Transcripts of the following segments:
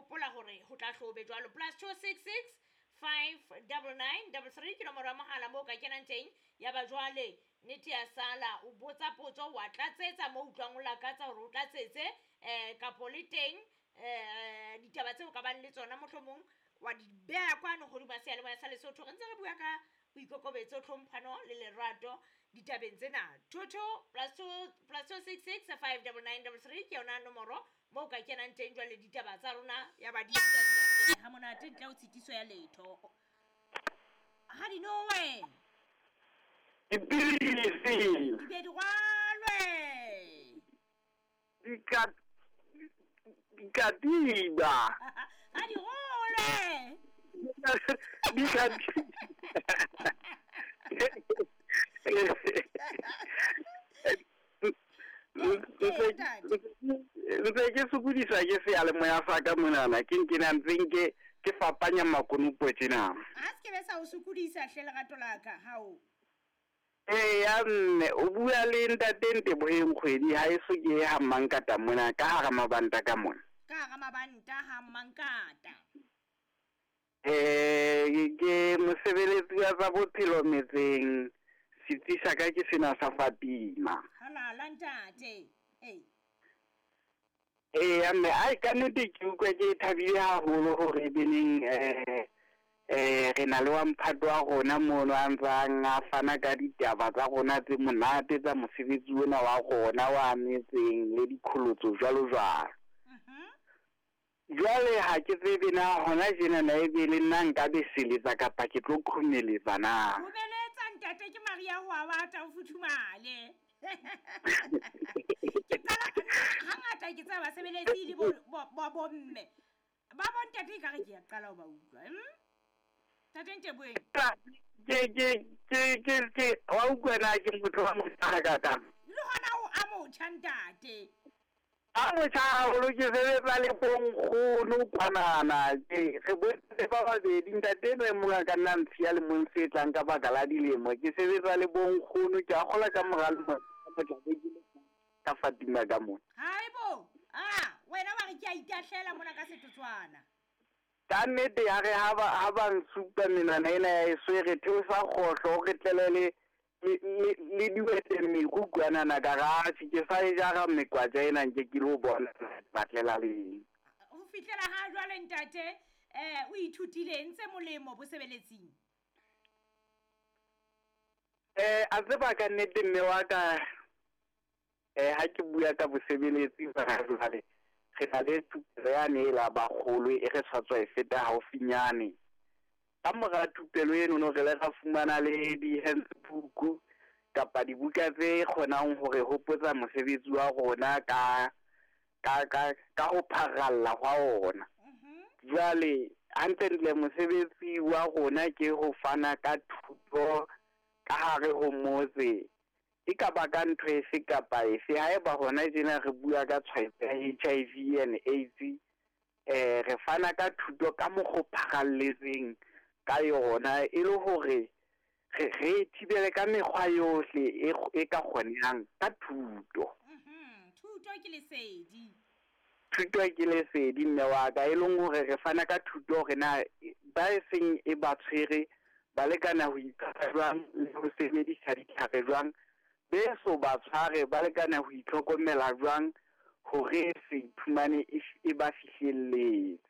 Hopola hore ho tla hlobe jwalo. +266 599 33 ke nomoro ya mohala moo o ka kenang teng. Ya ba jwale nnete ya sala, o botsa potso wa tlatsetsa moo utlwang o lakatsa hore o tlatsetse kapo le teng ditaba tseo ka bang le tsona mohlomong wa di beha kwano hodima seyalemoya sa Lesotho. Re ntse re bua ka boikokobetso, tlhomphano le lerato ditabeng tsena. 22 +2 +266 599 33 ke yona nomoro moo ka kenang teng jwale ditaba tsa rona ya ba di ha monate ntle ho tshitiso ya letho. Ha di nowe. Dipilisi. Di be di rwalwe. Dikatiba. Ha di rolwe. Dikatiba. Ntse ke sokodiswa ke seyalemoya sa ka monana, ke nkena ntse nke ke fapanya makonopo tjena. Ha se ke be sa o sokodisa hle lerato la ka, hao. Eya mme, o bua le ntate Nteboheng Kgwedi ha eso ke ha Mmankata mona ka hara mabanta ka mona. Ka hara mabanta ha Mmankata. Ke mosebeletsi wa tsa bophelo metseng, setsi sa ka ke sena sa Fatima. Halala ntate. Ee. Eya mme, ai ka nnete ke utlwa ke thabile haholo hore beneng re na le wa mphato wa rona mono a ntsang a fana ka ditaba tsa rona tse monate tsa mosebetsi ona wa rona wa metseng le dikholotso jwalo jwalo. Jwale ha ke tsebe na hona tjena na ebe le nna nka beseletsa kapa ke tlo khumeletsa na. Khumeletsa ntate, ke Maria ho a bata o futhumale. Ke qala hangata ke tseba basebeletsi le bo bomme. Ba bo ntate ekare ke ya qala ho ba utlwa. Ntate Nteboheng. Ke wa utlwa na ke motho wa motjha ka ka. Le hona o a motjha ntate. A motjha haholo, ke sebetsa le bonkgono kwanana. Ke re bohle ba babedi, ntate enwa e mong a ka nna ntshiya le mong se tlang ka baka la dilemo. Ke sebetsa le bonkgono, ke a kgolwa ka mora lemo ka Fatima ka mona. Haibo, wena wa re ke a itahlela mona ka setotswana. Ka nnete ya re ha ba nsupa menwana ena ya eso e re theosa kgohlo, o re tlele le diwete meru kwanana ka ra atjhe, ke sa e jara mekwatja ena nke ke lo bona batlela leng. Ho fihlela ha jwale ntate, o ithutile ntse molemo bosebeletsing? A tseba ka nnete mme wa ka, ha ke bua ka bosebeletsi ba jwale, re na le thupelo yane e la bakgolo e re sa tswa e feta haufinyane. Ka mora thupelo eno no re le ra fumana le di-handbook kapa dibuka tse kgonang hore hopotsa mosebetsi wa rona ka ho pharalla hwa ona. Jwale hantlentle mosebetsi wa rona ke ho fana ka thuto ka hare ho motse, e ka ba ka ntho efe kapa efe. Haeba hona tjena re bua ka tshwaetso ya HIV and AIDS, re fana ka thuto ka mokgwa o pharalletseng ka yona e le hore re thibele ka mekgwa yohle e ka kgonehang ka thuto. Thuto ke lesedi. Thuto ke lesedi mme wa ka, e leng hore re fana ka thuto hore na ba e seng e ba tshwere ba lekana ho itshwara jwang le ho sebedisa ditlhare jwang, beso ba tshware ba lekana ho itlhokomela jwang hore se iphumane e ba fihlelletse.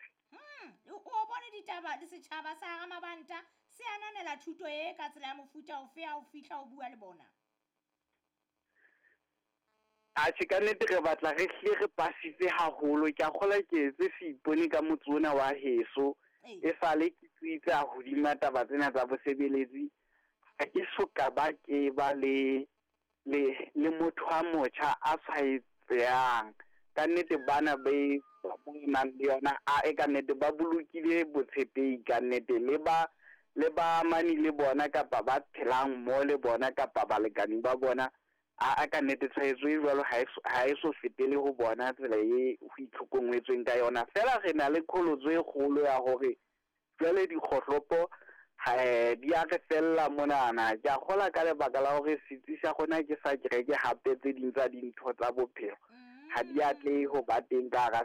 O bone ditaba le setjhaba sa hara mabanta se ananela thuto e ka tsela ya mofuta ofe ha o fihla o bua le bona? Atjhe, ka nnete re batla re hle re pasitse haholo. Ke a kgolwa ke etse seipone ka motse ona wa heso. E sale ke tsitsa hodima taba tsena tsa bosebeletsi, ha ke so ka ba ke ba le motho a motjha a tshwaetsehang. Ka nnete bana be nang le yona a e ka nnete ba bolokile botshepehi ka nnete, le ba amani le bona kapa ba phelang mo le bona kapa balekane ba bona, a ka nnete tshwaetso e jwalo ha e so fetele ho bona tsela e ho itlhokometsweng ka yona. Feela re na le qholotso e kgolo ya hore jwale dikgohlopo di a re fella monana. Ke a kgolwa ka lebaka la hore setsi sa rona ke sa kereke, hape tse ding tsa dintho tsa bophelo ha di atlehe ho ba teng ka hara